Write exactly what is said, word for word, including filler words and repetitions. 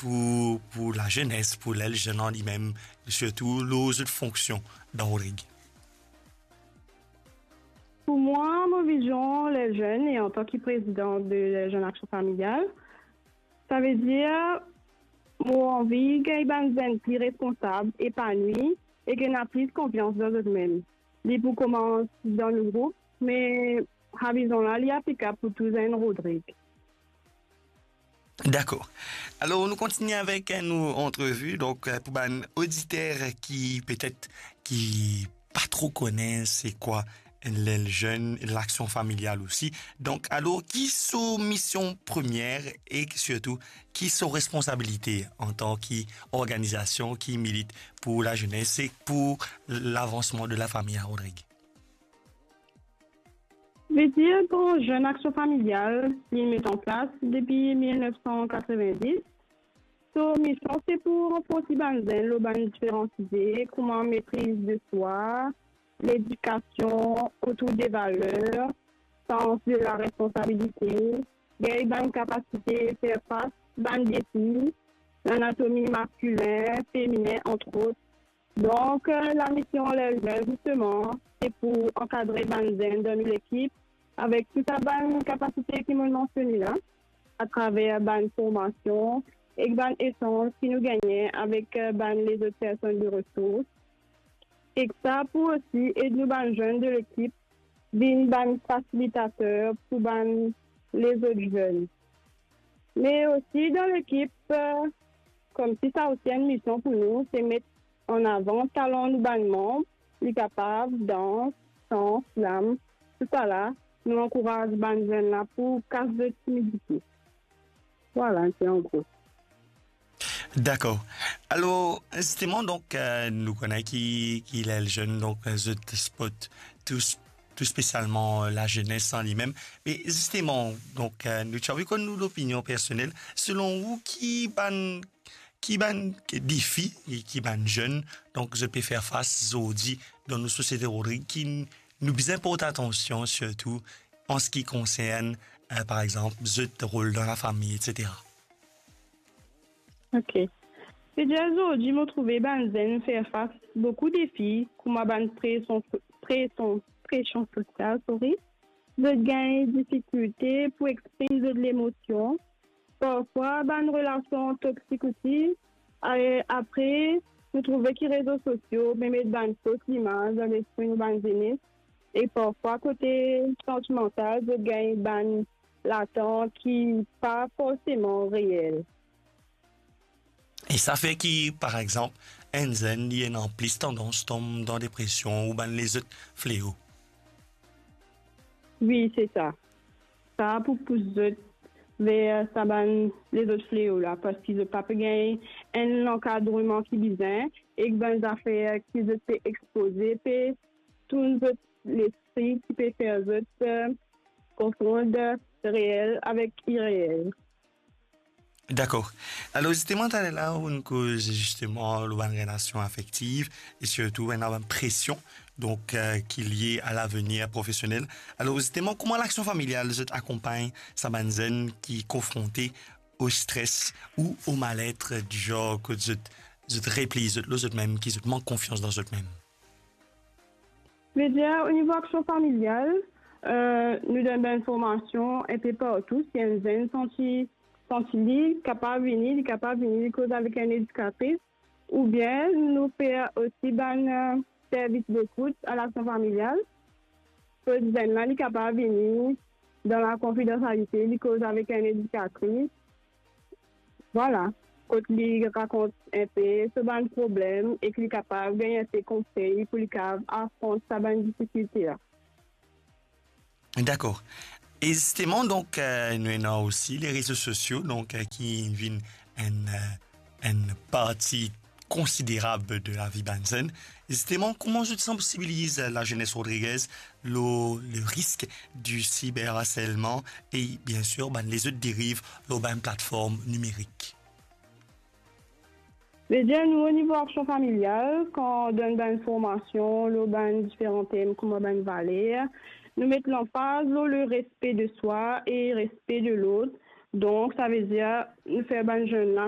pou, pou lazenes, pou Lel Zenn an limem, sirtou lor zot fonksion dan Rodrig? Pou mwa, mo vizion Lel Zenn e antan ki prezidan de Lel Zenn Aksion Familial, savedir mo anvi gagn bann zenn pli responsab, epanwi ek ena plis konfians dan zot mem. Li pou koumans dan nou group, me sa vizion la, li aplikab pou tou zenn Rodrig. Dakor. Alor, nou kontigne avek, eh, nou antrevi. Donk, eh, pou bann oditer ki, petet, ki pa tro kone se kwa Lel Zenn, Laksion Familial osi. Donk, alor, ki so mision premie e sirtou ki so responsabilite antan ki organizasion ki milit pou lazenes e pou lavansman de lafami a Rodrig? Vedir, Lel Zenn Aksion Familial, li met an plas depi mil nef san katreven-dis. So mision se pou ranforsi bann zenn lor bann diferan size, kouma metriz de swa, ledikasion otour de valer, sans de la responsabilite, gagn bann kapasite fer fas bann defi, lanatomi maskilin, feminin, antrot. Donk, eh, lamision Lel Zenn, zisteman, se pou ankadre bann zenn dan nou lekip avek tou sa bann kapasite ki mo'nn mansione la, atraver bann formasion ek bann esanz ki nou gagne avek, eh, bann lezot personn de resours. Ek sa pou osi ed nou bann zenn de lekip vinn bann fasilitater pou bann lezot zenn. Me osi dan lekip, eh, koumsi sa osi enn mision pou nou, se met an avan talan nou bann manb, li kapav dans, san, slam, tousala, nou ankouraz bann zenn la pou kas zot timidite. Vwala, se an gro. Dakor. Alor, zisteman, donk, eh, nou kone ki, ki Lel Zenn, donk, eh, zot spot tou, tou spesialman, eh, lazenes an limem. Me zisteman, donk, eh, nou ti anvi konn nou lopinion personel. Selon ou, ki bann, ki bann defi, ki bann zenn, donk, zot pe fer fas zordi dan nou sosiete Rodrig, ki nou bizin port atansion, sirtou an se ki konsern, eh, par exanp, zot rol dan lafami, etsetera? Ok. Vedir, zordi, mo trouve bann zenn fer fas boukou defi, kouma bann presion, presion, presion sosial, sorry. Zot gagn difikilte pou exprim zot lemosion. Parfwa, bann relasion toksik osi. E apre, nou trouve ki rezo sosio pe met bann fos limaz dan lespri nou bann zenes. E parfwa, kote santimantal, zot gagn bann latant ki pa forseman reel. E sa fer ki, par exanp, enn zenn, li ena plis tandans tom dan depresion ou bann lezot fleo. Wi, se sa. Sa pou pous zot ver sa bann lezot fleo la, parski zot pa pe gagn enn lankadreman ki bizin, ek bann zafer ki zot pe expoze pe tourn zot lespri, ki pe fer zot, eh, konfond reel avek ireel. Dakor. Alor, zisteman, taler la, ou'nn koz zisteman lor bann relasion afektiv e sirtou ena bann presion, donk, eh, ki lie a lavenir profesionel. Alor, zisteman, kouma Laksion Familial, zot akonpagn sa bann zenn ki konfronte o stres ou o malet, dizon, kot zot, zot repli zot lor zot mem, ki zot mank konfians dan zot mem? Vedir, o nivo Laksion Familial, eh, nou donn bann formasion enpe partou. Si enn zenn santi, santi li kapav vini, li kapav vini, li koz avek enn edikatris, oubien nou fer osi bann, eh, servis dekout a Laksion Familial. Kot zenn la, li kapav vini dan lakonfidansialite, li koz avek enn edikatris. Vwala, kot li rakont enpe so bann problem ek li kapav gagn enpe konsey pou li kapav afront sa bann difikilte la. Dakor. E zisteman, donk, eh, nou ena osi le rezo sosio, donk, eh, ki vinn enn, eh, enn parti konsiderab de lavi bann zenn. Zisteman, kouma zot sansibiliz lazenes rodrigez lor le risk di siberharselman e, biensir, bann lezot deriv lor bann platform nimerik? Vedir, nou, o nivo Laksion Familial, kan donn bann formasion lor bann diferan tem kouma bann valer, nou met lanfaz lor le respe de swa e respe de lot. Donk, savedir, nou fer bann zenn la